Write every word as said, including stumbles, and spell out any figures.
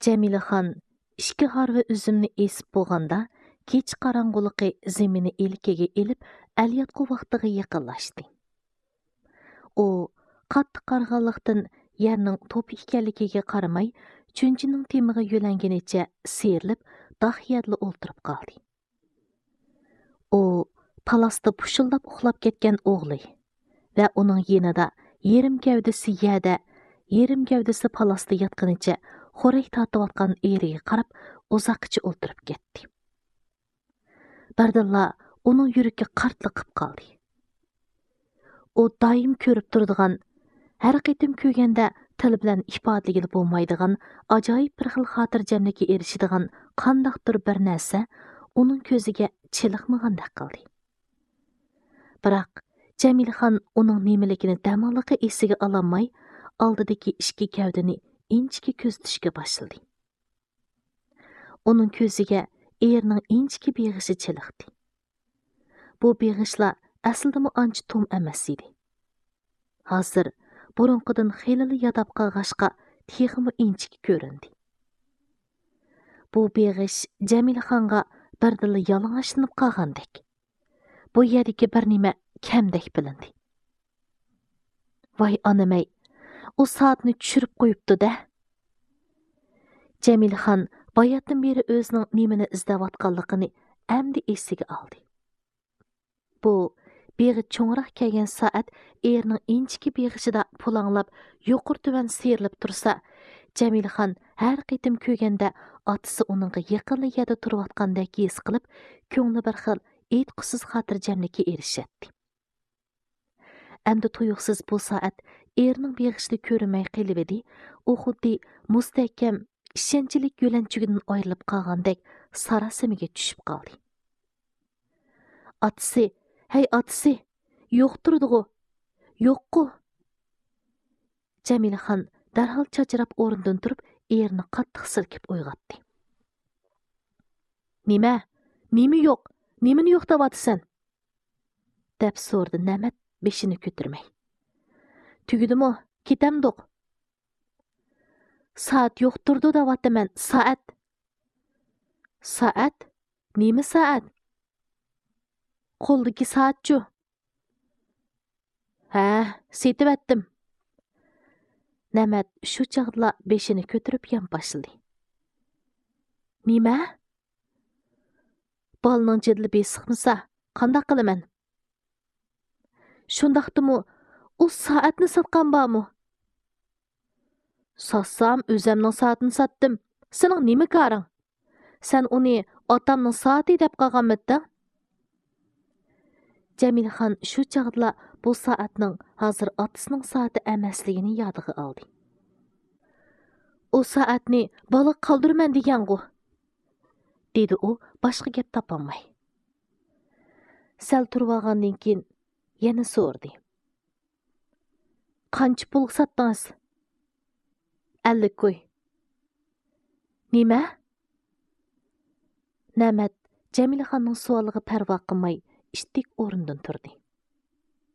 جەمىلىخان ئىككى ھارۋا ئۈزۈمنى ئېسىپ بولغاندا، كېچە قاراڭغۇلۇقى زېمىننى ئىلكىگە ئېلىپ، ئەلياتقۇ ۋاقتىغا يېقىنلاشتى. ئۇ قاتتىق قارىغانلىقتىن، يەرنىڭ توپا ئىكەنلىكىگە قارىماي، چۈنچىنىڭ تېمىغا يۆلەنگىنىچە سىيرىلىپ، داق يەردىلا ئولتۇرۇپ قالدى. ئۇ پالاستا پۇشۇلداپ ئۇخلاپ كەتكەن ئوغلى ۋە ئۇنىڭ يېنىدا يېرىم گەۋدىسى يەردە، يېرىم گەۋدىسى پالاستا ياتقىنىچە خورەك تارتىۋاتقان ئېرىگە قاراپ ئۇزاققىچە ئولتۇرۇپ كەتتى. بىردىنلا ئۇنىڭ يۈرىكى قارتلىقىپ قالدى. ئۇ دائىم كۆرۈپ تۇرىدىغان، ھەر قېتىم كۆرگەندە تىل بىلەن ئىپادىلىگىلى بولمايدىغان ئاجايىپ بىر خىل خاتىرجەملىككە ئېرىشىدىغان قانداقتۇر بىر نەرسە ئۇنىڭ كۆزىگە چېلىقمىغاندەك قىلدى. بىراق، جەمىلىخان ئۇنىڭ نېمىلىكىنى دەماللىقى ئېسىگە ئالالماي، ئالدىدىكى ئىككى گەۋدىنى ئىنچىكە كۆزىتىشكە باشلىدى. ئۇنىڭ كۆزىگە ئېرىنىڭ ئىنچىكە بېغىشى چېلىقتى. بۇ بېغىشلار ئەسلىدىمۇ ئانچە توم ئەمەس ئىدى. ھازىر بۇرۇنقىدىن خېلىلا ياداپ قالغاچقا، تېخىمۇ ئىنچىكە كۆرۈندى. بۇ بېغىش جەمىلىخانغا بىردىنلا يالىڭاچلىنىپ قالغاندەك، بۇ يەردىكى بىر نېمە كەمدەك بىلىندى. ۋاي ئانىمەي، ئۇ سائەتنى چۈشۈرۈپ قويۇپتۇ-دە! جەمىلىخان باياتتىن بېرى ئۆزىنىڭ نېمىنى ئىزدەۋاتقانلىقىنى ئەمدى ئېسىگە ئالدى. بۇ بېغى چوڭراق كەلگەن سائەت ئېرىنىڭ ئىنچىكە بېغىشىدا پۇلاڭلاپ، يۇقىرى تۆۋەن سىيرىلىپ تۇرسا، جەمىلىخان ھەر قېتىم كۆرگەندە ئاتىسى ئۇنىڭغا يېقىنلا يەردە تۇرۇۋاتقاندەك ھېس قىلىپ، كۆڭلى بىر خىل ئېيتقۇسىز خاتىرجەملىككە ئېرىشەتتى. ئەمدى تۇيۇقسىز بۇ سائەت ئېرىنىڭ بېغىشىدا كۆرۈنمەي قېلىۋىدى، ئۇ خۇددى مۇستەھكەم، ئىشەنچلىك يۆلەنچۈكىدىن ئايرىلىپ قالغاندەك ساراسىمىگە چۈشۈپ قالدى. ئاتىسى، ھەي ئاتىسى، يوق تۇردىغۇ، يوققۇ! جەمىلىخان دەرھال چاچراپ ئورنىدىن تۇرۇپ، ئېرىنى قاتتىق سىلكىپ ئويغاتتى. نېمە؟ نېمە يوق؟ نېمىنى يوق دەۋاتىسەن؟ دەپ سورىدى نەمەت بېشىنى كۆتۈرمەي. تۈگىدىمۇ؟ كېتەمدۇق؟ سائەت يوق تۇردى دەۋاتىمەن، سائەت. سائەت؟ نېمە سائەت؟ قولدىكى سائەتچۇ؟ ھە، سېتىۋەتتىم. نەمەت شۇ چاغدىلا بېشىنى كۆتۈرۈپ يانپاشلىدى. نېمە؟ بالىنىڭ جېدىلى بېسىقمىسا، قانداق قىلىمەن؟ شۇنداقتىمۇ، ئۇ سائەتنى ساتقان بارمۇ؟ ساتسام، ئۆزەمنىڭ سائىتىنى ساتتىم. سېنىڭ نېمە كارىڭ؟ سەن ئۇنى ئاتامنىڭ سائىتى دەپ قالغانمىدىڭ؟ جەمىلىخان شۇ چاغدىلا بۇ سائەتنىڭ ھازىر ئاتىسىنىڭ سائىتى ئەمەسلىكىنى يادىغا ئالدى. ئۇ سائەتنى بالىغا قالدۇرىمەن دېگەنغۇ؟ دېدى ئۇ باشقا گەپ تاپالماي. سەل تۇرۇۋالغاندىن كېيىن يەنە سورىدى. قانچە پۇلغا ساتتىڭىز؟ ئەللىك كوي. نېمە؟ نەمەت جەمىلىخاننىڭ سوئالىغا پەرۋا قىلماي، ئىتتىك ئورنىدىن تۇردى.